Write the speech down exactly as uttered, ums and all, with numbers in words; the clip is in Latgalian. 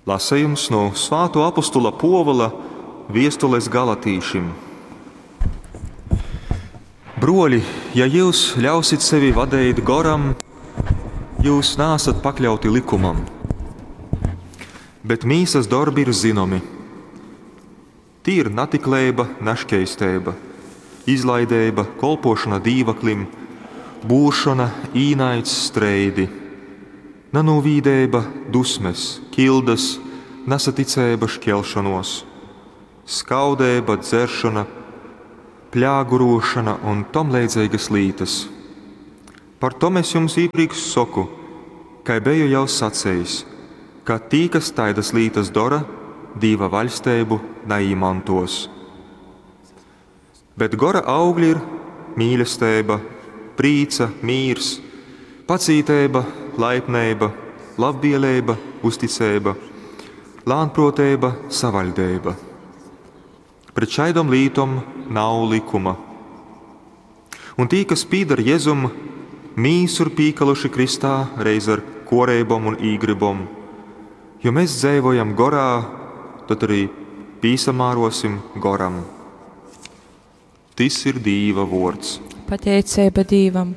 Lasejums no Svātuo apostula Puovula viestules galatīšim. Bruoļi, ja jyus ļausit sevi vadeit Goram, jyus naasat pakļauti lykumam. Bet mīsas dorbi ir zynomi. Tī ir natikleiba, naškeisteiba, izlaideiba, kolpuošona dīvaklim, būršona, īnaids, streidi, nanūvīdeiba, dusmes, kildas, nasaticeiba, škelšonuos, skaudeiba, dzeršona, pļāguruošona un tomleidzeigys lītys. Par tom es jums īprīkš soku, kai beju jau sacejis, ka tī, kas taidys lītys dora, Dīva vaļsteibu naīmontuos. Bet gora augļi ir mīlesteiba, prīca, mīrs, pacīteiba, laipneiba, labvieleiba, uzticeiba, lānpruoteiba, savaļdeiba. Pret šaidom lītom nav lykuma. Un tī, kas pīdar Jezum, mīsu ir pīkaluši krystā reiz ar kuoreibom un īgrybom. Jo mēs dzeivojam gorā, tad arī pīsamārosim goram. Tys ir Dīva vuords. Pateiceiba Dīvam.